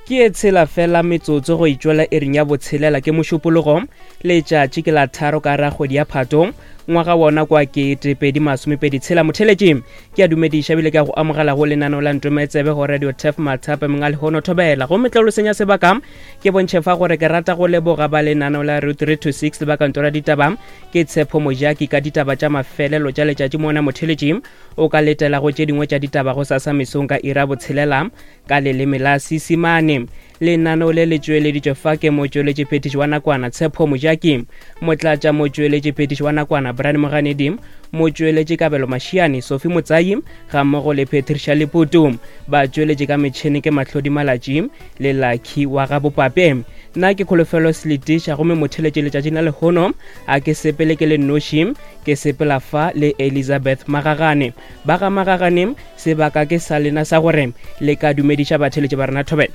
Ke e tshela fela metsotso go itšwela iring ya botshelela ke Mošupologo, letšatši ke la tharo ka ra kgwedi ya Phato, ngwaga wona kwa 2026. Motheletši, ke a dumediša ebile ke a go amogela go lenaneo la Ntometsebe go Radio Turf Mathape mong a lehono thobela. Gomme tla lo senya sebaka ke bontšhe fa gore ke rata go leboga ba lenaneo la Route 3 to 6 le ba kantoro ya ditaba ke Tshepo Mojaki ka ditaba tša mafelelo tša letšatši mona motheletši o ka letela go tše dingwe tša ditaba go sasa mesong ka ira botshelela Ka leleme la Seisemane, lenaneo le le tšweleditšwe fa ke motšweletšiphethiši wa nakwana Tshepo Mojaki, motlatša motšweletšiphethiši wa nakwana Brian Moganedi, motšweletši Kabelo Mashiane, Sophie Motsayi gammogo le Patricia Leputu. Batšweletši ka metšhene ke Mahlodi Malatši le Lucky wa ga Bopape. Nna ke Kholofelo Seletiša gomme motheletši letšatšing la lehono a ke sepele ke le nnoši, ke sepela fa le Elizabeth Magagane. Ba ga Magagane Sebaka ke sa lena sa gore le ka dumediša batheeletši ba rena thobela.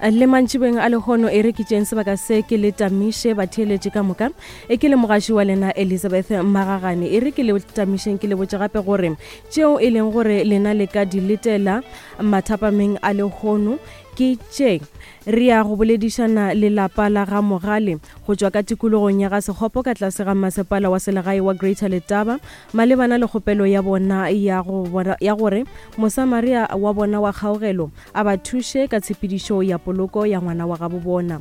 Le mantšibeng a lehono e re ke tšeeng sebaka se ke le tamiše batheeletši ka moka. E ke le mogaši wa lena Elizabeth Magagane. E re ke le tamišeng ke le botše gape gore tšeo e leng gore lena le ka di letela mathapameng a lehono ke tše. Re ya go boledišana le lapa la ga Mogale go tšwa ka tikologong ya ga Sekgopo ka tlase ga masepala wa selegae wa Greater Letaba Malebana le kgopelo ya bona ya go ya gore Mosamaria wa bona wa kgaogelo a ba thuše ka tshepedišo ya poloko ya ngwana wa gabo bona.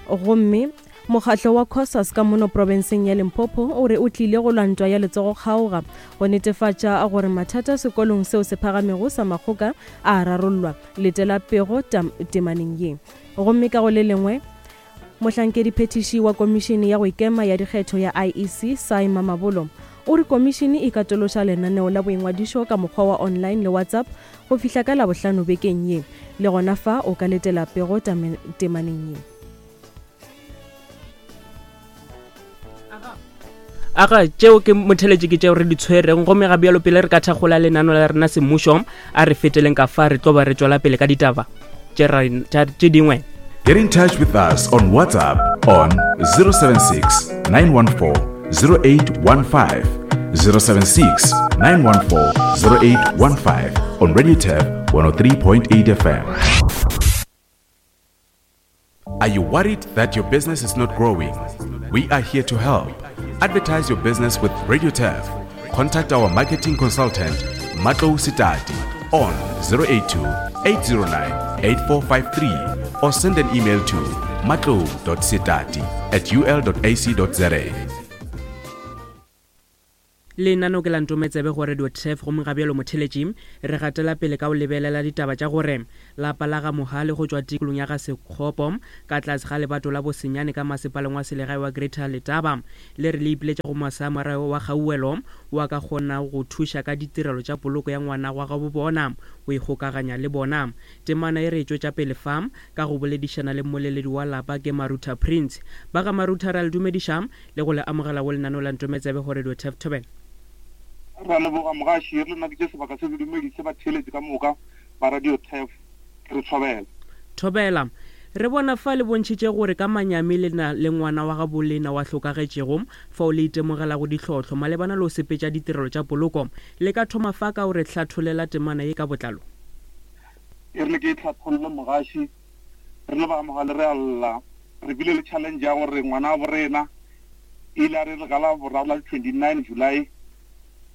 Gomme mokgatlo wa Cosas ka mono profenseng ya Limpopo o re o tlile go lwa ntwa ya letsogo-kgaoga go netefatša gore mathata sekolong seo se phagamego sa Makgoka a a rarollwa. Letela pego temaneng ye. Gomme ka go le lengwe, Mohlankediphethiši wa Komišene ya go Ikema ya Dikgetho ya IEC, Sy Mamabolo, o re komišene e katološa lenaneo la boingwadišo ka mokgwa wa online le WhatsApp go fihla ka Labohlano bekeng ye. Le gona fa o ka letela pego temaneng ye. Aga, tšeo ke motheletši ke tšeo re di tshwereng gomme ga bjalo pele re ka thakgola lenano la rena semmušo a re feteleng ka fa re tlo ba re tšwela pele ka ditaba tše dingwe. Get in touch with us on WhatsApp on 076 914 0815 076 914 0815 on Radio Turf 103.8 FM. Are you worried that your business is not growing? We are here to help. Advertise your business with Radio Turf. Contact our marketing consultant, Matlo Sitati, on 082 809 8453 or send an email to matlo.sitati at ul.ac.za. Lenaneo ke la Ntometsebe go Radio Turf gomme ga bjalo motheletši re gatela pele ka go lebelela ditaba tša gore lapa la ga Mohale go tšwa tikolong ya ga Sekgopo ka tlase ga lebato la Bosenyane ka masepaleng wa selegae wa Greater Letaba le re le ipiletša go Mosamariya wa Kgauwelo wo a ka kgonago go thuša ka ditirelo tša poloko ya ngwana wa gabo bona go ikgokaganya le bona. Temana e re e tšwetša pele fa ka go boledišana le mmoleledi wa lapa ke Marutha Prince. Ba ga Marutha re a le dumediša le go le amogela go lenaneo la Ntometsebe go Radio Turf Thobela. Re a leboga mogaši, re le nna ke tše sebaka se ke dumedise batheeletši ka moka ba Radio Turf, ke re thobela. Thobela. Re bona fa le bontšhitše gore ka manyami le na le ngwana wa gabo lena wa hlokagetšego, fao le itemogelago ditlhohlo malebana le go sepetša ditirelo tša poloko. Le ka thoma fa ka go re hlatholela temana ye ka botlalo? E rile ke e hlatholle mogaši, Re le ba Mogale re a lla. Re bile le challenge ya gore ngwana bo rena ile a re re ka la boraro la 29 July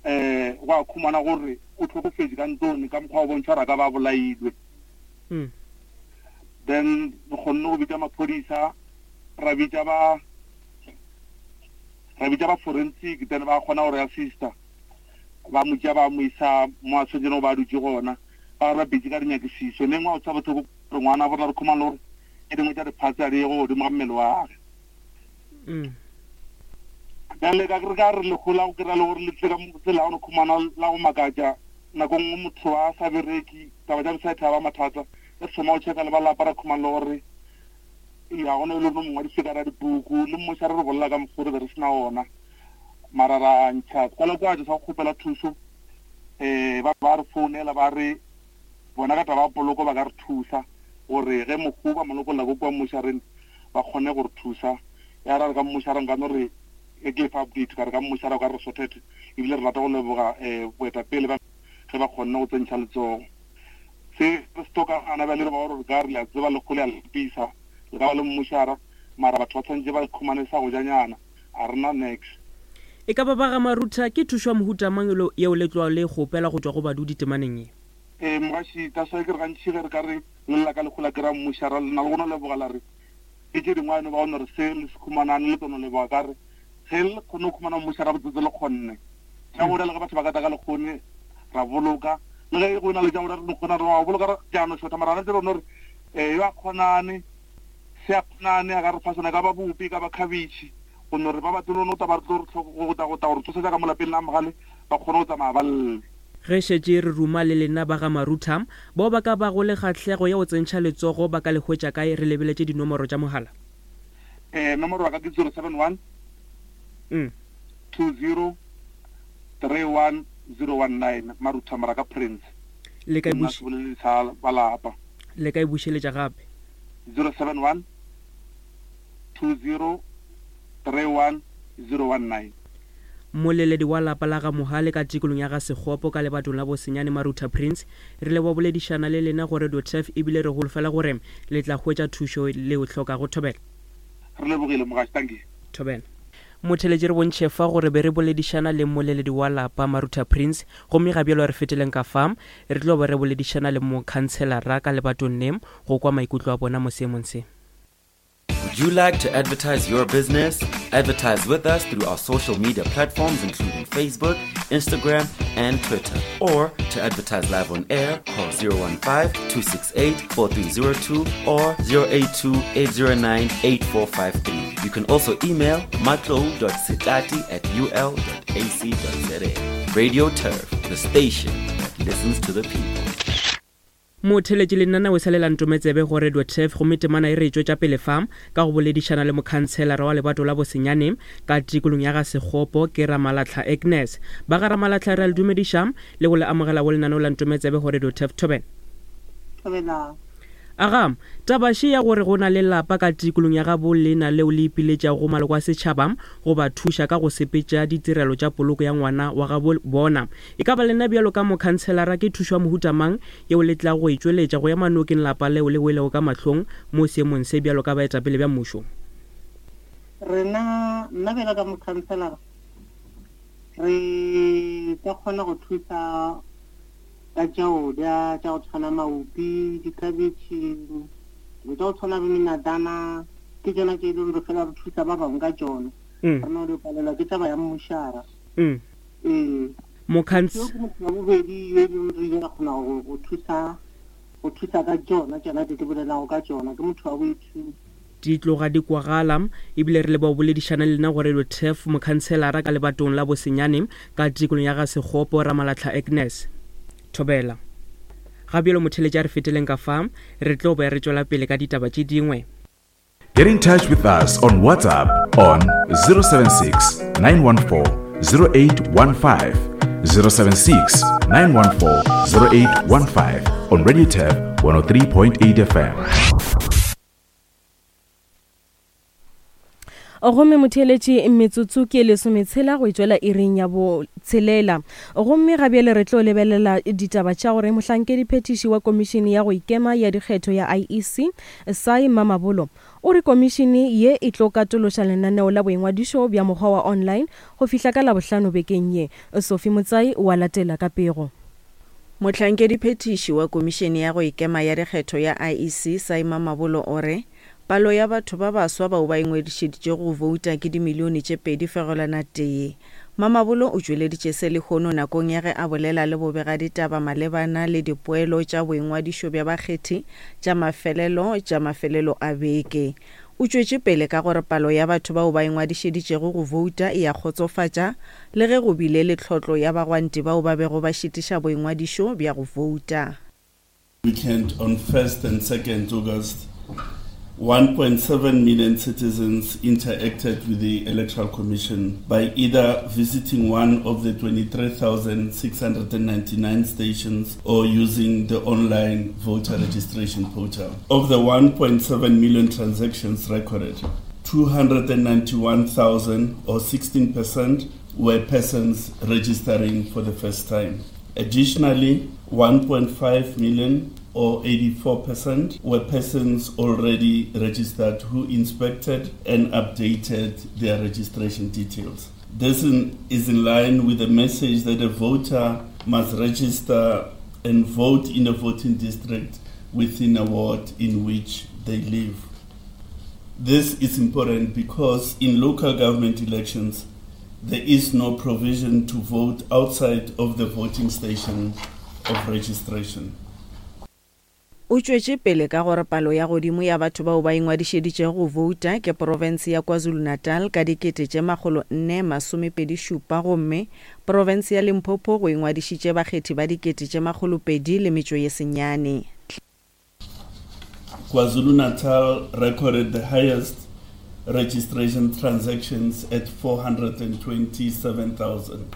eh gwa khumana gore o tlhokofetše ka ntlong ka mokgwa o bontšha gore a ka ba bolailwe. Mm. Then re kgonne go bitša maphodisa ra bitša ba ra bitša ba forensic then ba kgona gore assista ba mo tšea ba mo isa mo a tshwanetseng go ba dutše gona ba re ba busy ka dinyakišišo neng wa o tshaba bohloko gore ngwana borra re khumana le gore tše dingwe tša diphatse a di ye go godimo ga mmele wa gage mm. bjale ka re ka re legola go kry-a le gore le tle ka tsela ya go khumana la go makatša nako nngwe motho a sa bereki taba tša bosaetha ba mathata re thoma go checka le ba lapa ra khumana le gore ya gona e le gore mongwadi ka ra dipuku le mmoša re re bolela ka mokgwa re be re sena ona mara ra ntšha kwalakwatso sa go kgopela thuso um ba ba re founela ba re bona ka taba ya poloko ba ka re thusa gore ge mohu ba mo lokolla ko kua mmošareng ba kgone go re thusa. Ya ra re ka mmošareng ka no re ge ke fa update ka re ka mmošara o ka re sorted ebile re rata go leboga um boetapele ba ge ba kgonne go tsentšha letsogo. Se re se tlokang gana bjale re ba gore re ka re le a tseba lekgo le a lapisa, le ka ba le mmušara, mara batho ba tshwanetše ba khumane sa go ja nyana, a re na nex. E ka ba ba ga Marutha, ke thušo ya mohuta mang yeo le tlogago le e kgopela go tšwa go badudi temaneng ye? Ee, mogaši, that's why ke re gantši ge re ka re le lla ka lekgo la kry-a mmušara, le na le go no leboga la re ke tše dingwe a no ba go no re se le se khumanane le tlo no leboga ka re ge le kgonne go khumana mmušara botsotse le kgonne. Tša go le ge batho ba ka tla ka lekgone ra boloka, le ge go na le tša go re no kgona re wa boloka re tša no šotha, mara rena tse no re eh yo a kgonane se a kgonane a ka re fa sona, e ka ba bupi, e ka ba khabitšhi, go no re ba ba tlo no tla ba re tlo re tlhoko go tla go tla go re tsosetsa ka mo lapeng la mogale ba kgone go tsamaya ba lle. Ge šetše re ruma le lena ba ga Marutha, bao ba ka bago le kgahlego ya go tsentšha letsogo ba ka le hwetša kae re lebeletše dinomoro tša mogala? Eh nomoro wa ka ke 071 2031019 Marutha Moraka Prince. Le ka e Nna seboleledi sa ba lapa. Le ka e bušeletša gape? 071 2031019. Mmoleledi wa lapa la ga Mohale ka tikolong ya ga Sekgopo ka lebatong la Bosenyane Marutha Prince, re leboga boledišana le lena go Radio Turf ebile re holofela gore le tla hwetša thušo le e hlokago. Thobela. Re lebogile mogaši, dankie. Thobela. Motheeletši re bontšhe fa gore be re boledišana le mmoleledi wa lapa Marutha Prince gomme ga bjalo re feteleng ka fa re tlo ba re boledišana le mokhantshelara ka lebatong le go kwa maikutlo a bona mo seemong se. Would you like to advertise your business? Advertise with us through our social media platforms including Facebook, Instagram, and Twitter. Or to advertise live on air, call 015 268 4302 or 082 809 8453. You can also email matlo.sitati at ul.ac.za. Radio Turf, the station that listens to the people. Motheeletši le nna o sa le la ntometsebe go Radio Turf gomme temana e re e tšwetša pele fa ka go boledišana le mokhantshelara wa lebato la Bosenyane ka tikolong ya ga Sekgopo ke Ramalatlha Agnes. Ba ga Ramalatlha re a le dumediša le go le amogela go lenaneo la Ntometsebe go Radio Turf Thobela. Thobela. Aga, taba še ya gore go na le lapa ka tikolong ya gabo lena leo le ipiletšago go maloko a setšhaba go ba thuša ka go sepetša ditirelo tša poloko ya ngwana wa gabo bona. E ka ba lena bjalo ka mokhantshelara ke thušo ya mohuta mang yeo le tlago go e tšweletša go ema nokeng lapa leo le welego ka mahlong mo seemong se bjalo ka baetapele bja mmušo? Rena, nna bjalo ka mokhantshelara, re ka kgona go thusa ka tša go ja, tša go tshwana maopi, dikhabetšhe, dilo tša go tshwana le menadana, ke tšona tše e leng re fela re thusa ba bangwe ka tšona. Mm. Re no di palelwa ke taba ya mmušara. Mm. Ee. Mokhants. Yo ke motho wa bobedi yo e leng re ile ra kgona go go thusa go thusa ka tšona tšona tše ke bolelago ka tšona ke motho wa boithuti. Di tloga di kwagala, ebile re leboga go boledišana le lena go Radio Turf, mokhantshelara ka lebatong la Bosenyane ka tikolong ya ga Sekgopo, Ramalatlha Agnes. Thobela. Ga bjalo motheeletši a re feteleng ka fa, re tlo be re tšwela pele ka ditaba tše dingwe. Get in touch with us on WhatsApp on 076 914 0815. 076 914 0815 on Radio Turf 103.8 FM. Gomme motheeletši, metsotso ke lesometshela go etšwela iring ya botshelela. Gomme ga bjale re tlo lebelela ditaba tša gore mohlankediphethiši wa Komišene ya go Ikema ya Dikgetho ya IEC, Sy Mamabolo, o re komišene ye e tlo katološa lenaneo la boingwadišo bja mokgwa wa online go fihla ka Labohlano bekeng ye. Sophie Motsai o a latela ka pego. Mohlankediphethiši wa Komišene ya go Ikema ya Dikgetho ya IEC, Sy Mamabolo o re, Palo ya batho ba baswa bao ba ingwadišeditšego go bouta ke dimilione tše 2.1. Mamabolo o tšweleditše se lehono nakong ya ge a bolela le bobegaditaba malebana le dipoelo tša boingwadišo bja bakgethi tša mafelelo tša mafelelo a beke. O tšwetše pele ka gore palo ya batho bao ba ingwadišeditšego go bouta e a kgotsofatša le ge go bile le tlhotlo ya bagwanti bao ba bego ba šitiša boingwadišo bja go bouta. Weekend on 1st and 2nd August, 1.7 million citizens interacted with the Electoral Commission by either visiting one of the 23,699 stations or using the online voter registration portal. Of the 1.7 million transactions recorded, 291,000 or 16% were persons registering for the first time. Additionally, 1.5 million or 84%, were persons already registered who inspected and updated their registration details. This in, is in line with the message that a voter must register and vote in a voting district within a ward in which they live. This is important because in local government elections, there is no provision to vote outside of the voting station of registration. O tšwetše pele ka gore palo ya godimo ya batho bao ba ingwadišeditšego go bouta ke profense ya KwaZulu-Natal ka 4427 gomme profense ya Limpopo go ingwadišitše bakgethi ba 209. KwaZulu-Natal recorded the highest registration transactions at 427,000.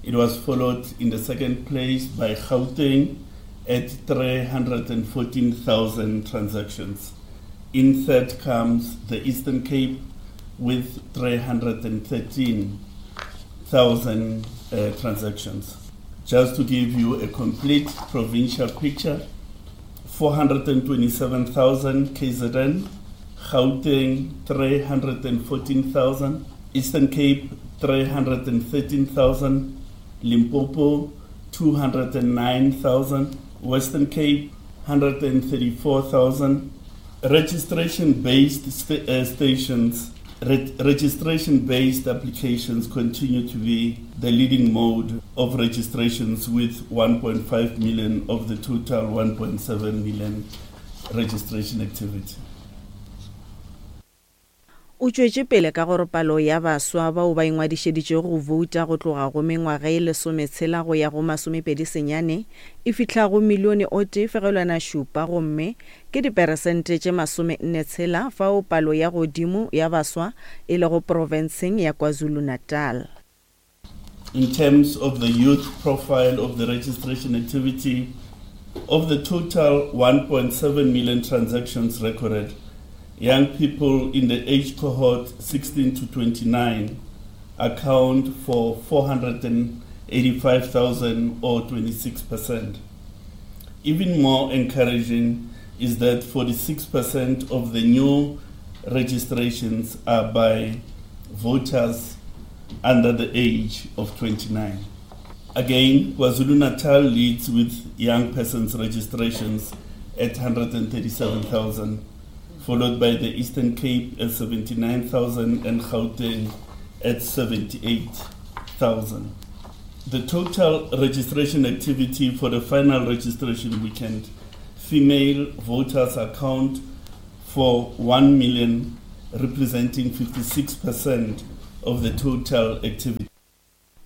It was followed in the second place by Gauteng at 314,000 transactions. In third comes the Eastern Cape with 313,000 uh, transactions. Just to give you a complete provincial picture, 427,000 KZN, Gauteng 314,000, Eastern Cape 313,000, Limpopo 209,000, Western Cape 134,000. Registration-based st uh, stations, re registration-based applications continue to be the leading mode of registrations with 1.5 million of the total 1.7 million registration activity. O tšwetše pele ka gore palo ya baswa bao ba ingwadišeditšego go bouta go tloga go mengwaga ye lesometshela go ya go masomepedi senyane e fihla go milione o tee fegelwana šupa gomme ke diperesente tše masomenne tshela fao palo ya godimo ya baswa e lego profenseng ya KwaZulu-Natal. In terms of the youth profile of the registration activity, of the total 1.7 million transactions recorded, young people in the age cohort 16 to 29 account for 485,000 or 26%. Even more encouraging is that 46% of the new registrations are by voters under the age of 29. Again, KwaZulu-Natal leads with young persons registrations at 137,000, followed by the Eastern Cape at 79,000 and Gauteng at 78,000. The total registration activity for the final registration weekend, female voters account for 1 million, representing 56% of the total activity.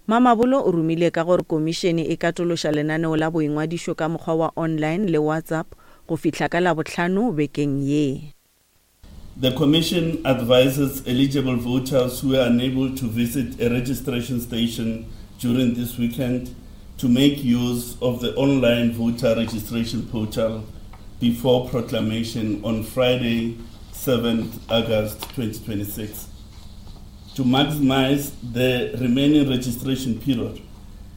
Mamabolo o rumile ka gore komišene e katološa lenaneo la boingwadišo ka mokgwa wa online le WhatsApp go fihla ka Labohlano bekeng ye. The Commission advises eligible voters who are unable to visit a registration station during this weekend to make use of the online voter registration portal before proclamation on Friday, 7th August 2026. To maximize the remaining registration period,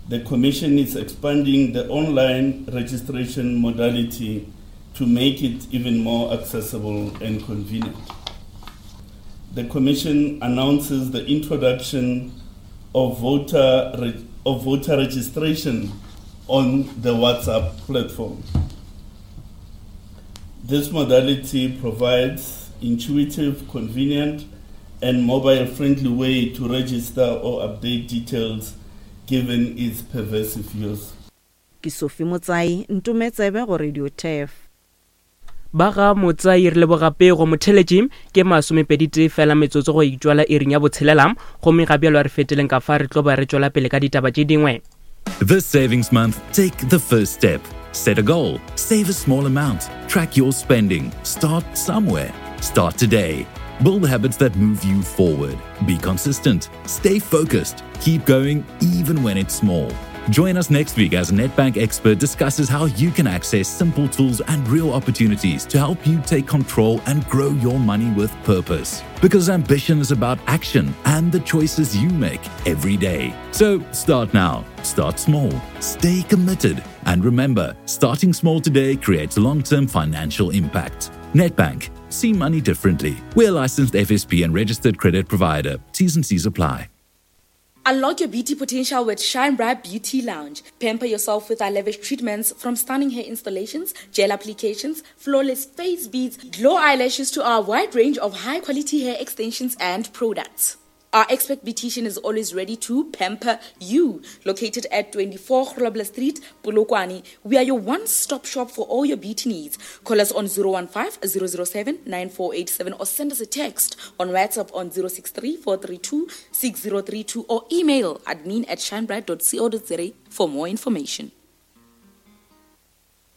the Commission is expanding the online registration modality to make it even more accessible and convenient. The Commission announces the introduction of voter, of voter registration on the WhatsApp platform. This modality provides intuitive, convenient, and mobile-friendly way to register or update details given its pervasive use. Ke Sophie Motsai, Ntume Tsebe go Radio Turf. Ba ga Motsai re leboga pego motheletši ke masomepeditee fela metsotso go itšwala iring ya botshelela gomme ga bjalo a re feteleng ka fa re tlo ba re tšwela pele ka ditaba tše dingwe. This savings month, take the first step. Set a goal, save a small amount, track your spending, start somewhere. Start today. Build habits that move you forward. Be consistent, stay focused, keep going even when it's small. Join us next week as Nedbank expert discusses how you can access simple tools and real opportunities to help you take control and grow your money with purpose. Because ambition is about action and the choices you make every day. So start now, start small, stay committed, And remember, starting small today creates long term financial impact. Netbank, see money differently. We're licensed FSP and registered credit provider. T's and C's apply. Unlock your beauty potential with Shine Bright Beauty Lounge. Pamper yourself with our lavish treatments from stunning hair installations, gel applications, flawless face beads, glow eyelashes to our wide range of high quality hair extensions and products. Our expert beautician is always ready to pamper you. Located at 24 Grobler Street, Polokwane, we are your one-stop shop for all your beauty needs. Call us on 015 007 9487 or send us a text on WhatsApp on 063 432 6032 or email admin at shinebright.co.za for more information.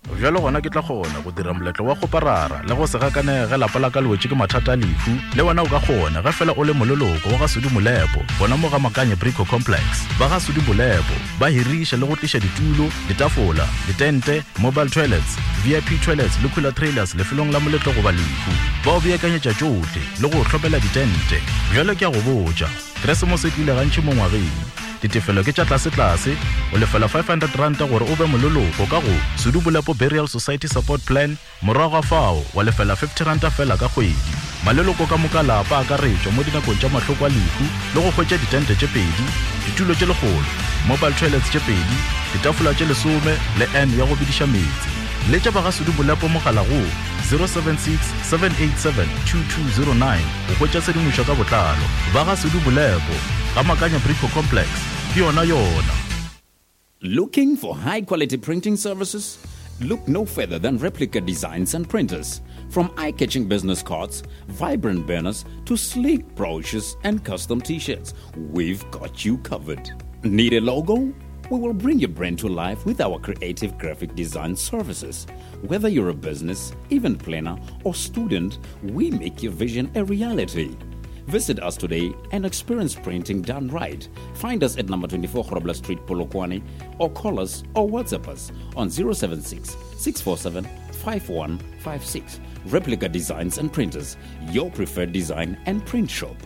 Bjalo gona ke tla kgona go dira moletlo wa kgoparara le go se gakanege ge lapa la ka le wetše ke mathata a lehu. Le wena o ka kgona ge fela o le moleloko wa ga Sudi Molepo gona mo ga Makanye Brico Complex. Ba ga Sudi Molepo ba hiriša le go tliša ditulo, ditafola, ditente, mobile toilets, VIP toilets le cooler trailers lefelong la moletlo goba lehu. Ba o beakanyetša tšohle le go o hlomela ditente. Bjalo ke a go botša, Keresemose e tlile gantši mo ngwageng. Ditefelo ke tša tlasetlase, o lefela R500 gore o be moleloko ka go Sedubolepo Burial Society Support Plan, morago ga fao wa lefela R50 feela ka kgwedi. Maleloko ka moka a lapa a akaretšwa mo dinakong tša mahloko a lehu le go hwetša ditente tše pedi, ditulo tše lekgolo, mobile toilets tše pedi, ditafola tše lesome le urn ya go bediša meetse. Letša ba ga Sedubolepo mogala go 076 787 2209 go hwetša tshedimošo ka botlalo. Ba ga Sedubolepo. Ga Makanya Brico Complex, ke yona yona. Looking for high quality printing services? Look no further than Replica Designs and Printers. From eye catching business cards, vibrant banners, to sleek brochures and custom t shirts, we've got you covered. Need a logo? We will bring your brand to life with our creative graphic design services. Whether you're a business, event planner, or student, we make your vision a reality. Visit us today and experience printing done right. Find us at number 24 Grobler Street, Polokwane, or call us or WhatsApp us on 076 647 5156. Replica Designs and Printers, your preferred design and print shop.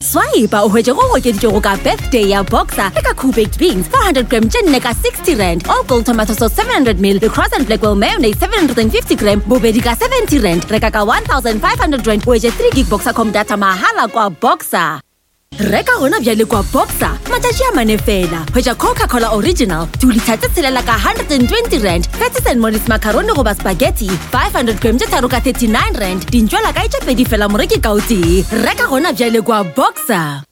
Swipe o hwetše go okeditšwego ka birthday ya boxer le ka cool baked beans 400 gram tše nne ka 60 rand all gold tomato sauce 700 ml le cross and blackwell mayonnaise 750 gram bobedi ka 70 rand reka ka 1500 rand o hwetše 3 gig boxer com data mahala kwa boxer reka gona bjale kwa boxer matšatši a mane fela hwetša coca-cola original dilitha tše tshelela ka 120 rand Patties and Molly's macaroni goba spaghetti 500 gram tše tharo ka 39 rand dintšwela kae tše pedi fela moreki ka o tee reka gona bjale kwa boxer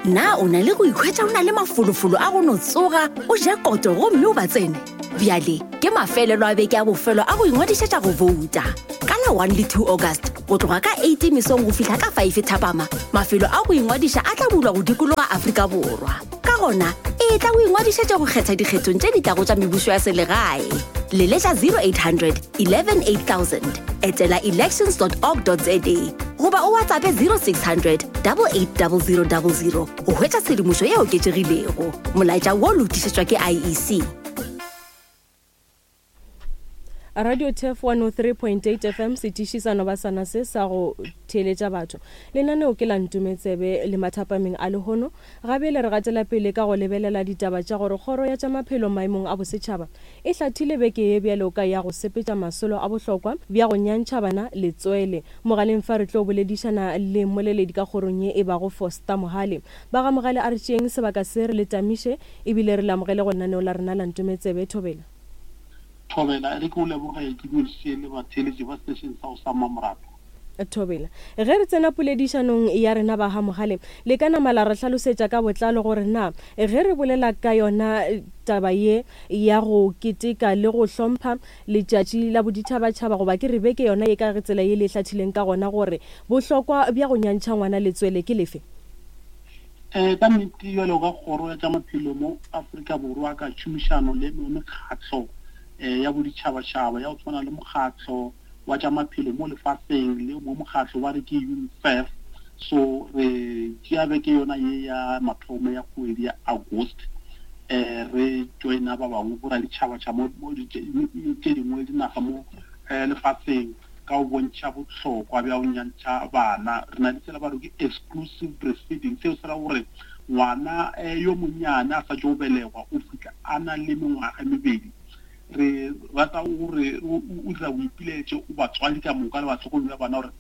na o na le go ikhwetša o na le mafolofolo a go no tsoga o je koto gomme o ba tsene bjale ke mafelelo a beke a bofelo a go ingwadišetša go bouta ka la 1 le 2 august go tloga ka 8 mesong go fihla ka 5 thapama mafelo a go ingwadiša a tla bulwa go dikologa afrika borwa Ka gona, etla o ingwadišetše go kgetha dikgethong tše di tlago tša mebušo ya selegae. Leletša 0800 11 8000, etela elections.org.za goba o WhatsAppe 0600 880000 go hwetša tshedimošo e oketšegilego. Molaetša wo o lokišetšwa ke IEC. Radio Turf 103.8 FM setiši sa noba sana se sa go theeletša batho. Lenaneo ke la Ntumetsebe le mathapameng a lehono. Ga bjale re gatela pele ka go lebelela ditaba tša gore kgoro ya tša maphelo maemong a bosetšhaba e hlathile beke ye bjalo ka ya go sepetša masolo a bohlokwa bja go nyantšha bana letswele. Mogaleng fa re tlo boledišana le mmoleledi ka kgorong ye e bago Foster Mohale. Ba ga Mogale a re tšeeng sebaka se re le tamiše ebile re le amogele go lenaneo la rena la Ntumetsebe. Thobela. Thobela, e re ke o leboge ke dumediše le batheeletši ba station sa go sa Mmamoratwa. Thobela, Ge re tsena poledišanong ya rena ba ga Mogale, le ka nama la re hlalosetša ka botlalo gore na ge re bolela ka yona taba ye ya go keteka le go hlompha letšatši la boditšhabatšhaba goba ke re beke yona ye ka tsela ye le e hlathileng ka gona gore bohlokwa bja go nyantšha ngwana letswele ke lefe? Um ka nnete bjalo ka kgoro ya tša maphelo mo Afrika Borwa ka tšhomišano le mekgatlo um ya boditšhabatšhaba ya go tshwana le mokgatlo wa tša maphelo mo lefaseng le mo mokgatlo ba re ke UNICEF so re tšea beke yona ye ya mathomo ya kgwedi ya August um re joina ba bangwe boraditšhabatšhaba mo tše dingwe dinaga mo um lefaseng ka go bontšha bohlokwa bja go nyantšha bana. Re na le sela ba re ke exclusive breastfeeding, seo se ra gore ngwana eh, yo monnyane a sa tšo belegwa o fihla a na le mengwaga e mebedi, re rata gore o dira boipiletšo o batswadi ka moka le bahlokomedi ba bana gore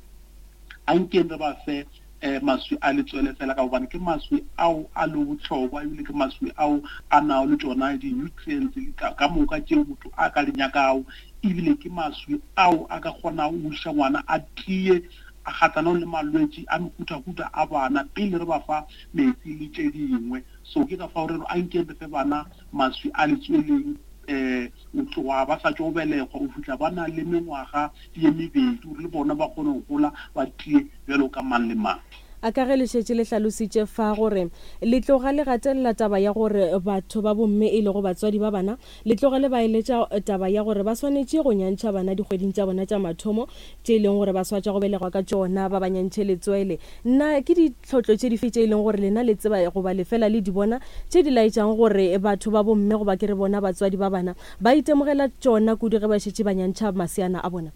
a nkeng re ba fe um maswi a letswele fela ka gobane ke maswi ao a le bohlokwa ebile ke maswi ao a nago le tšona di-nutrients ka moka tšeo motho a ka di nyakago ebile ke maswi ao a ka kgonago go iša ngwana a tie a kgatlanong le malwetši a mehutahuta a bana pele re ba fa metsi le tše dingwe. So ke ka fao re re a nkeng re fe bana maswi a letsweleng um go tloga ba sa tšo belegwa go fihla ba na le mengwaga ye mebedi gore le bona ba kgone go gola ba tie bjalo ka mang le mang. A Ka ge le šetše le hlalositše fa gore le tloga le gatelela taba ya gore batho ba bomme e lego batswadi ba bana Le tloge le ba eletša taba ya gore ba swanetše go nyantšha bana dikgweding tša bona tša mathomo tše e leng gore ba swa tša go belegwa ka tšona, ba ba nyantšhe letswele. Na ke ditlhotlo tše dife tše e leng gore lena le tseba goba le fela le di bona tše di laetšago gore batho ba bomme goba ke re bona batswadi ba bana ba itemogela tšona kudu ge ba šetše ba nyantšha maseana a bona?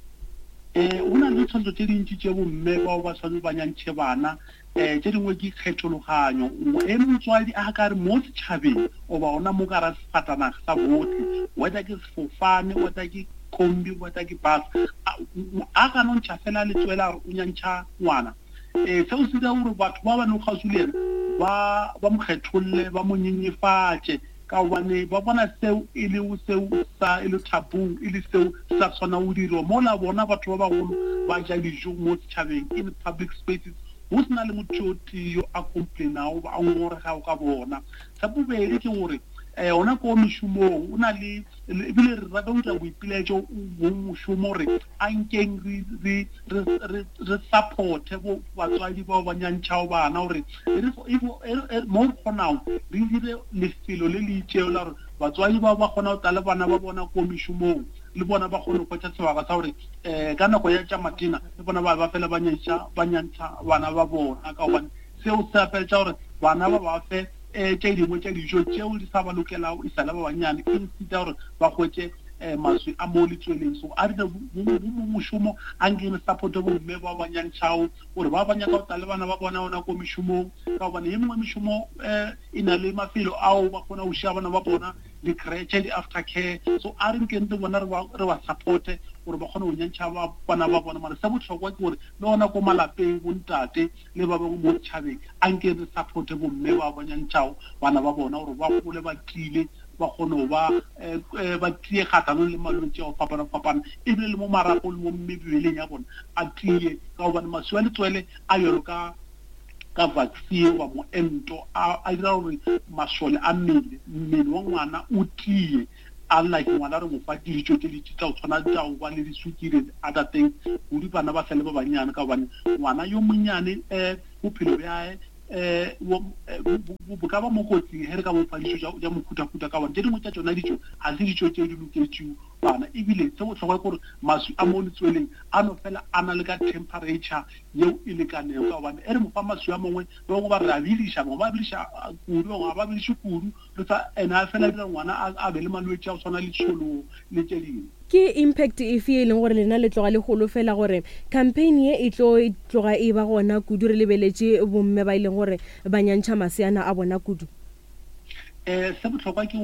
Ee, go na le ditlhotlo tše dintši tše bomme bao ba swanetše ba nyantšhe bana. Um tše dingwe ke kgethologanyo. Ge motswadi a ka re mo setšhabeng goba gona mo ka ra sefatanaga sa bohle, whether ke sefofane, whether ke kombi, whether ke bus, a ka no ntšha fela letswele a re o nyantšha ngwana, um seo se dira gore batho ba ba lego kgauswi le yena ba ba mo kgetholle, ba mo nyenyefatše. Ka gobane ba bona seo e le seo sa e le taboo, e le seo se sa tshwanang go dirwa, mola bona batho ba bagolo ba ja dijo mo setšhabeng, in public spaces, go se na le motho yo tee yo a complainago goba a ngongoregago ka bona. Sa bobedi ke gore gona ko mešomong go na le, ebile re rata go dira boipilaetšo go mošomo gore a nkeng re, re, re, re, re supporte bo batswadi bao ba nyantšhago bana gore mo re kgonago re dire lefelo le le itšego la gore batswadi bao ba kgona go tla le bana ba bona ko mešomong le bona ba kgone go hwetša sebaka sa gore um ka nako ya tša matena le bona ba ba fela ba nyantšha ba nyantšha bana ba bona ka gobane seo se apeletša gore bana ba ba fe um tše dingwe tša dijo tšeo di sa ba lokelago e sa le ba bannyane instead ya gore ba hwetše um maswi a mo letsweleng. So a re bo mošomo a nke re supporte bomme ba ba nyantšhago gore ba ba nyaka go tla le bana ba bona gona ko mešomong ka gobane ye mengwe mešomo um e na le mafelo ao ba kgona go šia bana ba bona di-creche di-after care. So a re nkeng le bona re ba supporte gore ba kgone go nyantšha bana ba bona. Mara se bohlokwa ke gore le gona ko malapeng bontate le ba bangwe mo setšhabeng a nke re supporte bomme ba ba nyantšhago bana ba bona gore ba gole ba tiile ba kgone go ba ba tie kgahlanong le malwetši a go fapana-fapana, ebile le mo marapong le mo mebeleng ya bona a tie, ka gobane maswi a letswele a bjalo ka ka vaccine goba moento a a dira gore masole a mmele mmele wa ngwana o tie, unlike ngwana re mo fa dijo tše dintši tša go tshwana tša go ba le diswikiri and other things kudu bana ba sa le ba bannyane, ka gobane ngwana yo monnyane um bophelo bjae um bo ka ba mo kotsing ge re ka mo fa dijo tša mohuta-huta, ka gobane tše dingwe tša tšona dijo ga se dijo tše di loketšego bana. Ebile se bohlokwa ke gore maswi a mo letsweleng a no fela a na le ka temperature yeo e lekanego, ka gobane e re mo fa maswi a mangwe, ba bangwe ba re a bidiša, bangwe ba bidiša kudu, bangwe ga ba bidiše kudu. Re sa ene a fela dira ngwana a a be le malwetši a go tshwana le tšhologo le tše dingwe. Ke impact efe ye e leng gore lena le tloga le holofela gore campaign ye e tlo tloga e ba gona kudu re lebeletše bomme ba e leng gore ba nyantšha maseana a bona kudu? Se bohlokwa ke.